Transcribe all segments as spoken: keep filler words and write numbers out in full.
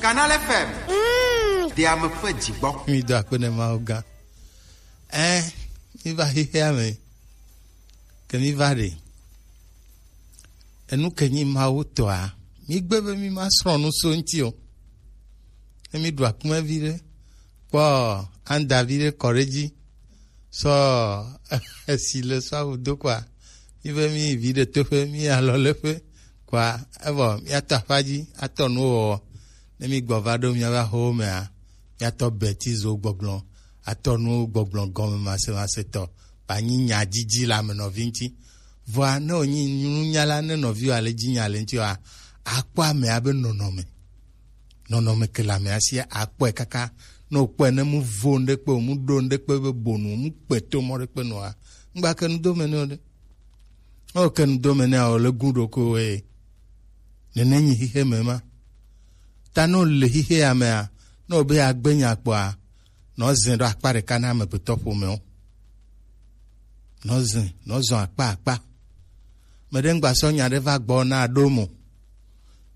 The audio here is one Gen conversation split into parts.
Canal F M. Mm. Ɖe ame ƒe dzi gbɔ. Mi do akpe ne Mawu gã. Ɛ, mi va xexea me. Ke mi va ɖe. Enu ke nyi Mawu tɔa, mi gbe be mi ma srɔ̃ nu so ŋuti o. Ne mi ɖu akume vi ɖe, kpɔ anda vi ɖe kɔ ɖe dzi. Sɔ esi le sɔ awu do kɔa, mi be mi vi ɖe toƒe, mi alɔ le ƒe kɔa, evɔ mi atɔ aƒa dzi, atɔ nuwo wɔwɔ. Ne mi gbɔ va ɖo mi ava xo mea, mi atɔ betizo gbɔgblɔ, atɔ nuwo gbɔgblɔ gɔme masemase tɔ, ba nyi nya dzidzi le ame nɔvi ŋuti. Vɔa ne wònyi nunyala ne nɔviwo ale dzi nya le ŋuti oa, akpɔ amea be nɔnɔme. Nɔnɔme ke le amea sia, akpɔe kaka. Ne wòkpɔe ne mu vo ŋɖe kpe o, mu ɖo ŋɖe kpe be bonu o, mu kpe to mɔ ɖe kpe nɔa, ŋgba ke nu do me ne o ɖe. Ne wòke nu do me nea, wòle gu ɖokuiwò eye. Nene nyi xixe me ma. Ta ne wòle xixe ya mea, ne wòbe yeagbe nya kpɔa, nɔ zẽ ɖo akpa ɖeka na amegbetɔ ƒomewo. Nɔ zẽ, nɔ zɔ akpa akpa. Meɖe ŋgba sɔ nya ɖe va gbɔ na ɖo mo.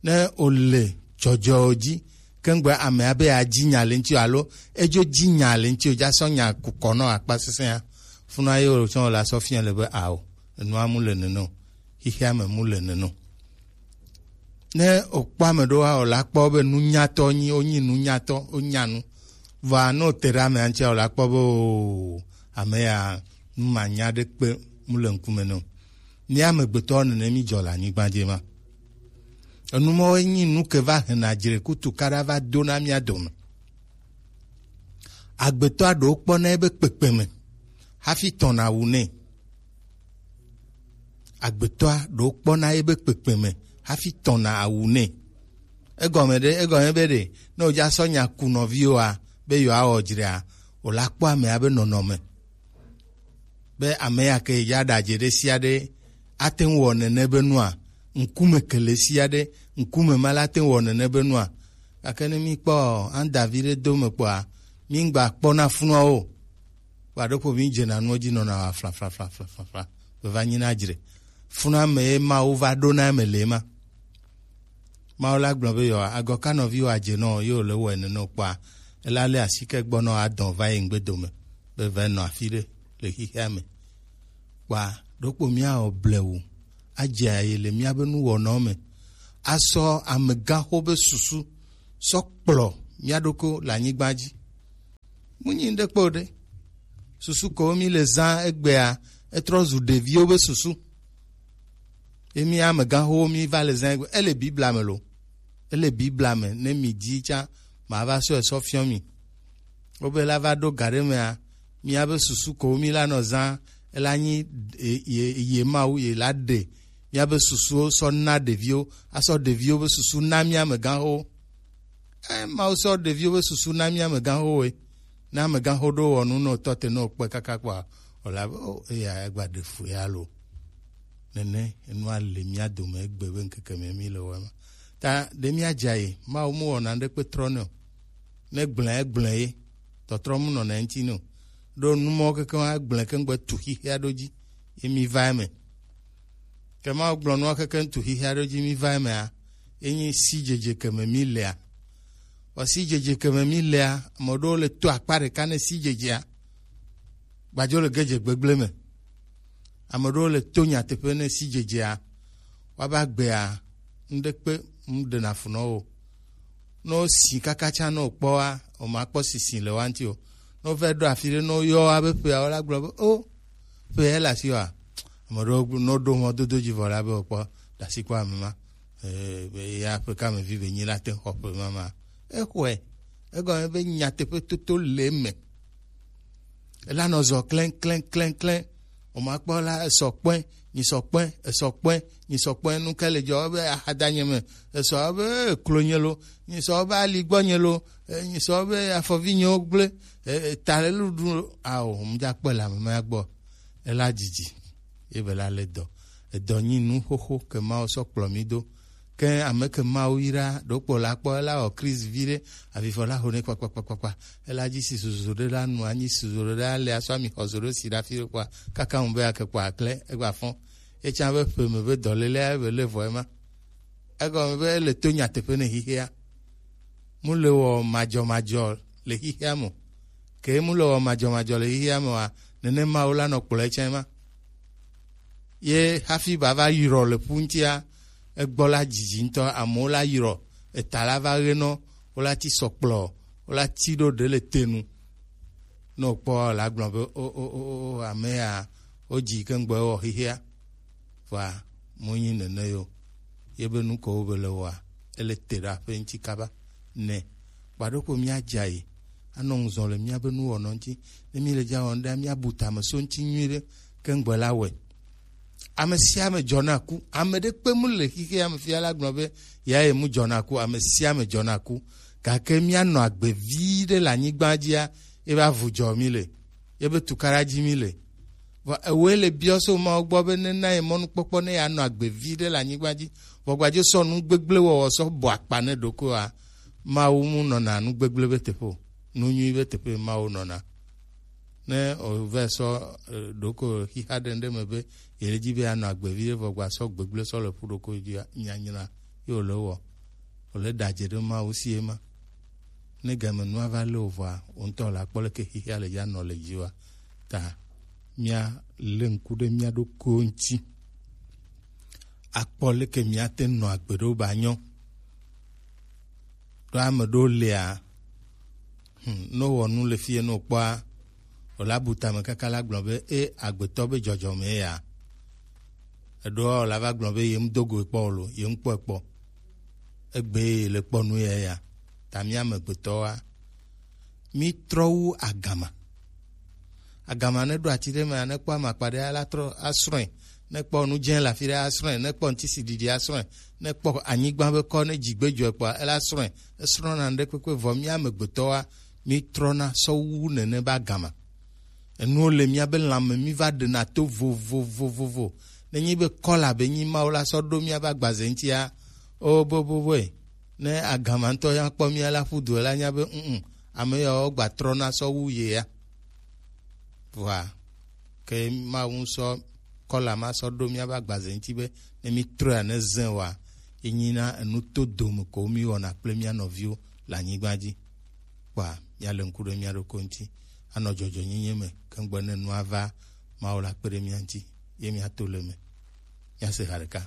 Ne wòle dzɔdzɔwo dzi, ke ŋgbe amea be yeadzi nya le ŋuti o alo edzo dzi nya le ŋuti o, dza sɔ nya kukɔ nɔ akpa sesẽa. Funua ye wòtsɔ wòle asɔ fia le be ao, enua mu le nene o, xixea me mu le nene o. Ne wòkpɔ ame ɖewoa, wòla kpɔ be nunyatɔ nyi, wonyi nunyatɔ, wonya nu. Vɔa ne wòte ɖe amea ŋutia, wòla kpɔ be oo, ame ya nu manya ɖe kpe mu le ŋkume nɛ o. Mía amegbetɔwo nene mí dzɔ le anyigba dzi ma. Enu mawo nyi nu ke va hena dzrekutu kaɖa va dona mía dome. Agbetɔa ɖewo kpɔna ebe kpekpe me hafi tɔna awu nɛ. Agbetɔa ɖewo kpɔna ebe kpekpe me hafi tɔna awu nɛ. Egɔme ɖe, egɔme be ɖe, ne wòdza sɔ nya ku nɔviwoa, be yewoawɔ dzrea, wòla kpɔ amea be nɔnɔme. Be ame ya ke ya ɖadze ɖe sia ɖe ate ŋu wɔ nene be nua, ŋkume ke le sia ɖe, ŋkume ma la te ŋu wɔ nene be nua. Gake ne mi kpɔ anda vi ɖe do me kpɔa, mi ŋgba kpɔna funua o. Wa ɖo ƒo mi dzena nuwo dzi nɔna wa fla, fla, fla, fla, fla, fla. Be va nyi na dzre. Funua me ye Mawu va ɖo na me le ma. Mawu la gblɔ be yewoa, agɔ ka nɔviwò adze nɔ ye wòle wɔe nene o kpɔa, ela lé asike gbɔ nɔ adɔn va yi ŋgbe dome be va nɔ afi ɖe le xexea me. Kpɔa, ɖokpo míawɔ blewu adze ayi le míabe nuwɔnawo me, asɔ amegãxo be susu sɔ kplɔ mía ɖokui le anyigba dzi. Mu nyi ŋɖe kpe o ɖe. Susu ko mi le zã egbea, etrɔ zu ɖeviwo be susu. Ye mi amegãxowo mi va le zã egbe. Ele Biblia me lo. Ele Biblia me. Ne mi di tsa, ma va sɔ esɔ fiɔ mi. Wobe la va ɖo ga ɖe mea, mía be susu ko mi la nɔ zã, ela nyi ye, ye, ye Mawu, ye la ɖe mía be susuwo sɔ na ɖeviwo, asɔ ɖeviwo be susu na mía amegãxowo. E, Mawu sɔ ɖeviwo be susu na mí amegãxowoe. Ne amegãxo ɖo wɔ nu nɔ tɔ te nɔ kpɔe kaka kpɔa, wòla be, o, eya egba ɖe fu ya lo. Nene enua le mía dome egbe be ŋkeke me mí le wɔe ma. Ta ɖe mía dza yi, Mawu mu wɔna ɖe kpe trɔ nɛ o. Ne gblẽ, egblẽ ye. Tɔtrɔ mu nɔna eŋuti nɛ o. Ɖo nu mɔ keke ma gblẽ ke ŋgbe tu xixia ɖo dzi. Ye mi va eme. Ke Mawu gblɔ nua keke ŋutu xixia ɖo dzi mi va emea, ye nyi sidzedze ke me mi lea. Vɔ sidzedze ke me mi lea, ame ɖewo le to akpa ɖeka ne sidzedzea, gbadzo le gedze gbegblẽ me. Ame ɖewo le to nyateƒe ne sidzedzea, woava gbea, ŋɖe kpe ŋu ɖena fu nɔ wo. Ne wosi kaka tsã ne wòkpɔ wa, wòmakpɔ sisi le wa ŋuti o. Ne wova ɖo afi ɖe, ne woyɔ wa be ƒea, wola gblɔ be, o, ƒe ya le asi wa. Ame ɖewo gblɔ, ne woɖo mɔdodo dzi vɔ la be wòkpɔ ɖasi kpɔ ame ma. Eh, be ya ƒe ka me vi be nyi la te xɔ ƒe ma ma. Exɔe. Egɔme be nyateƒe toto le eme. Ela nɔ zɔ klɛn, klɛn, klɛn, klɛn. O ma kpɔ la, esɔ kpɔe, nyi sɔ kpɔe, esɔ kpɔe, nyi sɔ kpɔe. Nu ka le dzɔ be axadanye me? Esɔ be klonye lo, nyi sɔ be aligbɔnye lo, eh, nyi sɔ be afɔvinyewo gblẽ, eh, eh, ta le luɖu lo. Ao, ŋdza kpɔe le ame ma gbɔ. Ela dzidzi. Ye be la le dɔ. Edɔ nyi nu xoxo ke Mawu sɔ kplɔ mi do. Ke ame ke Mawu yra ɖokpo la kpɔ, ela wɔ krizi vi ɖe, avivɔ la ho nɛ kpakpakpakpakpa. Ela dzi si susu ɖe la nu anyi susu ɖe la le asɔ ami xɔ zo ɖo si ɖe afi ɖe kpɔa, kaka ŋu be ake kpɔ aklẽ, egba fɔn. Etsã be ƒe me be dɔlélea be le vɔ ema. Egɔme be ele to nyateƒe ne xixea. mu le wɔ madzɔmadzɔ le xixea me o. Ke mu le wɔ madzɔmadzɔ le xixea me oa, nene Mawu la nɔ kplɔe tsɛ ma. Ye hafi ba va yrɔ le ƒu ŋutia, egbɔ la dzidzi ŋutɔ, amewo la yrɔ, eta la va ɣe nɔ, wo la ti sɔ kplɔ, wo la ti ɖo ɖe le te nu. Ne wòkpɔ la gblɔ be, o, o, o, o, o, ame ya, wodzi ke ŋgbɔ ewɔ xexea. Vɔa, monyi nene yo. Ye be nu ko wo be le wɔa, ele te ɖe aƒe ŋuti kaba. Nɛ. Kpaɖo ko míadza yi. Anɔ ŋuzɔ le míabe nuwɔnɔ ŋuti. Ne míle dza wɔm ɖea, míabu tame so ŋuti nyuiɖe, ke ŋgbɔ la wɔe. Ame sia ame dzɔna ku. Ame ɖekpe mu le xixea me fia la gblɔ be, ya ye mu dzɔna ku. Ame sia ame dzɔna ku. Gake míanɔ agbe vi ɖe le anyigba dzia, ye be avu dzɔ mí le. Ye be tukaɖa dzi mí le. Vɔ ewoe le biɔ so Mawu gbɔ be nena ye mɔnukpɔkpɔ ne yeanɔ agbe vi ɖe le anyigba dzi. Vɔ gbadzo sɔ nu gbegblẽ wɔwɔ sɔ bɔ akpa ne ɖokuiwòa, Mawu mu nɔna nu gbegblẽ be teƒe o. Nu nyui be teƒe Mawu nɔna. Ne wòvɛ sɔ, e, ɖoko xixa ɖe ŋɖe me be yele dzi be yeanɔ agbe vi ɖe vɔ gba sɔ gbegblẽ sɔ le ƒu ɖoko dzia, nyanyra ye wòle wɔ. Wòle ɖadze ɖe Mawu sie ma. Ne game nua va lé wò vɔa, wò ŋutɔ la kpɔ leke xexea le dza nɔ le dziwòa. Ta mía lé ŋku ɖe mía ɖokuiwo ŋuti. Akpɔ leke míate nɔ agbe ɖo ba nyɔ. Ɖo ame ɖewo lia, hmm, ne wowɔ nu le fie ne wokpɔa, wòla bu tame kaka la gblɔ be, e agbetɔ be dzɔdzɔme ya. Eɖewo wòla va gblɔ be, ye ŋu do go ekpɔ o lo, ye ŋu kpɔ ekpɔ. Egbe le kpɔ nu ya ya. Ta mía amegbetɔwoa, mí trɔ wu agama. Agama ne ɖo ati ɖe mea, ne kpɔ amakpa ɖe la trɔ asrɔ̃e. Ne kpɔ nu dze le afi ɖe asrɔ̃e. Ne kpɔ ŋutisiɖiɖi asrɔ̃e. Ne kpɔ anyigba be kɔ ne dzigbe dzɔe kpɔa, ela srɔ̃e. Esrɔ̃na ŋɖe kpekpe vɔ mía amegbetɔwoa, mí trɔna sɔ wu nene be agama. Enuwo le míabe lãme, mí va ɖena to vovovovovo. Nenye be kɔla be nyi Mawu la sɔ ɖo míabe agbaze ŋutia, o boboboe. Ne agama ŋutɔ ya kpɔ mía la ƒu du la nya be, mm, ame yawo gba trɔna sɔ wu ye ya. Vɔa, ke Mawu sɔ kɔla ma sɔ ɖo míabe agbaze ŋuti be ne mí trɔe ne zẽ wa, enyina enu to dome ko mí wɔna kple mía nɔviwo le anyigba dzi. Kpɔa, míale ŋku ɖe mía ɖokui ŋuti, anɔ dzɔdzɔenyenye me, ke ŋgbe ne nua va, Mawu la kpe ɖe mía ŋuti, ye míato le eme. Míase ha ɖeka.